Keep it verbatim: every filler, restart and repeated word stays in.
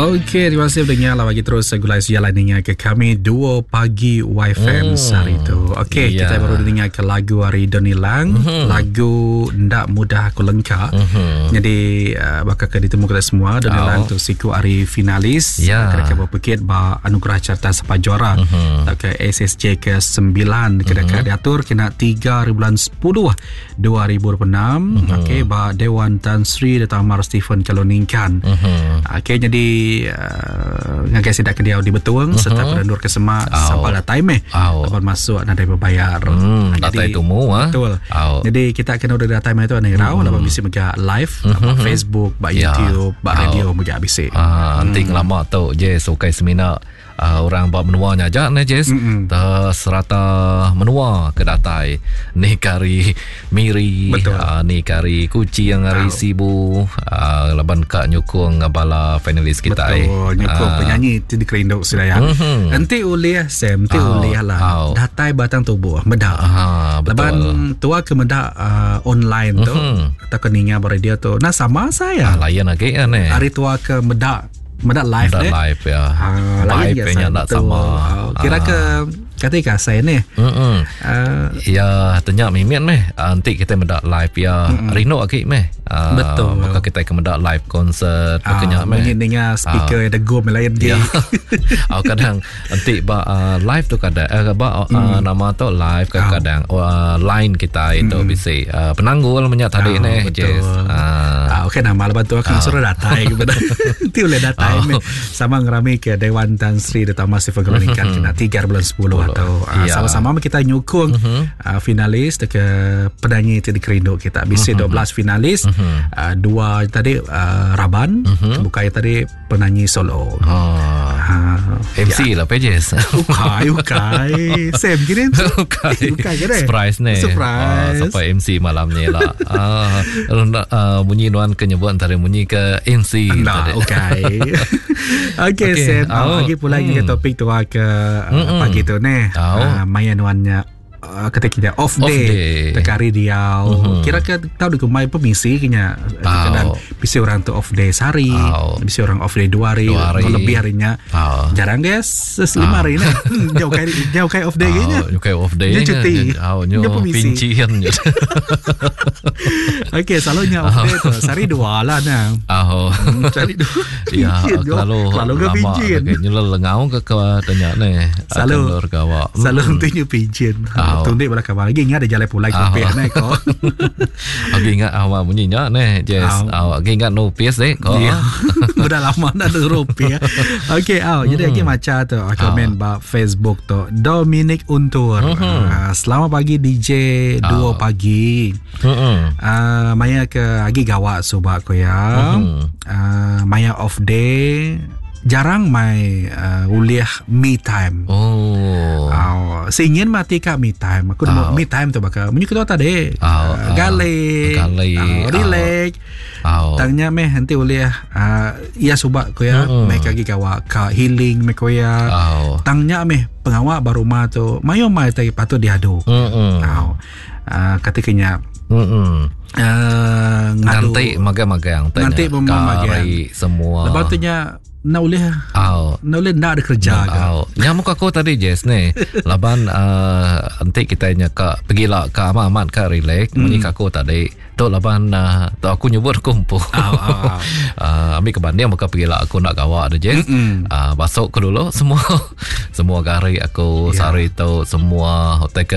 Okey, terima kasih pendengar lah bagi terus gulai sejalan dengar ke kami dua pagi Y F M hmm. hari tu. Okey, yeah. kita baru dengar ke lagu hari Donny Lang, mm-hmm. lagu Ndak Mudah Aku Lengka. Mm-hmm. Jadi uh, bakal ke ditemu kita semua Donny oh. Lang tu siku hari finalis yeah. kena ke berpekit ba anugerah carta sapa juara mm-hmm. ke S S J ke sembilan kena mm-hmm. diatur kena tiga bulan sepuluh dua ribu dua puluh enam. Mm-hmm. Okey, ba Dewan Tan Sri Dato Amar Stephen Kalong Ningkan. Mm-hmm. Okey, jadi uh, ngagai sidak ke dia di Betuang uh-huh. serta penendur ke semak oh. sampai datai meh oh. Lepas masuk nadai berbayar. Hmm, datai tumu ah. Betul. Oh. Jadi kita kena udah datai meh tu anai rau hmm. laban bisi mega live uh-huh. Facebook, ba ya. YouTube, ba radio mega bisi. Ah, nanti hmm. lama tu je sukai semina uh, orang ba menua nya aja ne Jess. Mm-hmm. Serata menua ke datai ni kari Miri, uh, ni kari Kuching, hari oh. Sibu, uh, laban ka nyukung bala finalis kita. Betul, nyukung uh. penyanyi ti dikerindu sudah ya. Mm-hmm. Nanti ulih Sam, nanti oh. ulih lah. Oh. Datai batang tubuh meda. Uh, betul. Laban tua ke meda uh, online tu mm-hmm. atau ke ninga radio tu. Nah, sama saya. Ah, layan lagi kan eh. Hari tua ke meda meda live. Meda live ya. Ha, vibe nya tak sama. Kira ke kata saya ni. Mm Uh, ya, tanya mimit meh. Nanti kita meda live ya. Mm-mm. Rindu lagi meh. Uh, Betul. Maka kita ke meda live concert uh, kenya meh. Dengar speaker uh, degum lain dia. Ya. Oh, kadang nanti ba uh, live tu kadang uh, ba uh, mm. nama tu live kadang uh, line kita itu mm. bisi uh, penanggul menyak tadi uh, ni. Jess. Uh, uh, okey, nama lepas tu aku uh. suruh datai kepada. Nanti boleh datai oh. meh. Sama ngerami ke Dewan Tan Sri Dato Amar Stephen Kalong Ningkan kena tiga bulan sepuluh atau uh, ya. Sama-sama kita nyukung uh-huh. uh, finalis ke penyanyi ti dikerindu kita. Bisi uh-huh. dua belas finalis, uh-huh. uh, dua tadi uh, raban, uh-huh. bukai tadi penyanyi solo. Oh. Uh, M C ya. Lah pages. Ukai, ukai. Sam gini. Ukai. Ukai kira. Surprise ni. Surprise. Uh, sampai M C malam ni lah. Uh, uh, bunyi nuan ke nyebut antara bunyi ke M C. Nah, ukai. Okey, okay, Sam. Oh. Lagi pula hmm. topik tu ke uh, pagi tu ni. Oh. Uh, maya nuannya uh, ketika dia off off day, day. Tekari dia mm-hmm. kira ke tahu di kumai permisi kenya oh. Kadang bisa orang tu off day sehari, oh. bisa orang off day dua hari, dua hari. Lebih harinya oh. Jarang guys lima hari ni jauh kai jauh kai off day oh, kenya. Jauh kai off day. Dia cuti. Oh, nyo pincian. Okey, selalunya off day tu sehari dua lah nah. Oh. Hmm, sehari dua. Ya, kalau kalau ke pincin. Nyelel lengau ke ke tanya ni. Selalu selalu hmm. nanti pincin. Oh. Tundik bala kabar lagi ingat ada jalan pulai kopi oh. ni ko. Aku ingat awak bunyinya ni, Jess. Awak ingat no piece deh ko. Ya. Udah lama nak ada rupiah. Okey, oh, jadi lagi macam tu komen ba Facebook tu Dominic Untur. Mm-hmm. Uh, selamat pagi D J dua oh. pagi. Mm-hmm. Uh, maya ke agi gawak subak ko ya. Mm-hmm. Uh, maya off day jarang mai uh, uliah me time. Oh. Oh, seingin mati kak me time. Aku oh. me time tu bakal munyi ketua tadi. Oh, uh, gale, gale, uh, relax. Oh. Tangnya meh nanti uliah uh, ya subak ko ya, Mm. meh kagi gawa ka healing meh ko ya. Oh. Tangnya meh pengawak baru mah tu mayo mai tai patut diadu. Mm. Oh. Uh, ketikanya Mm. uh, ngadu. Nanti magang-magang tanya. Nanti memang-magang. Kari semua. Lepas tu nya nak boleh Oh. nak boleh nak ada kerja ke. Oh, nyamuk aku tadi Jess ni. Laban uh, nanti kita nya ka pergilah ka amat-amat ka relax mm. Munyi aku tadi. Tu laban uh, tu aku nyebut aku empu. Oh, oh, oh. uh, ambil kebanding maka pergilah aku nak gawak ada Jess. Mm-mm. Uh, basuk ke dulu semua semua gari aku Ya. sehari tu semua hotel ke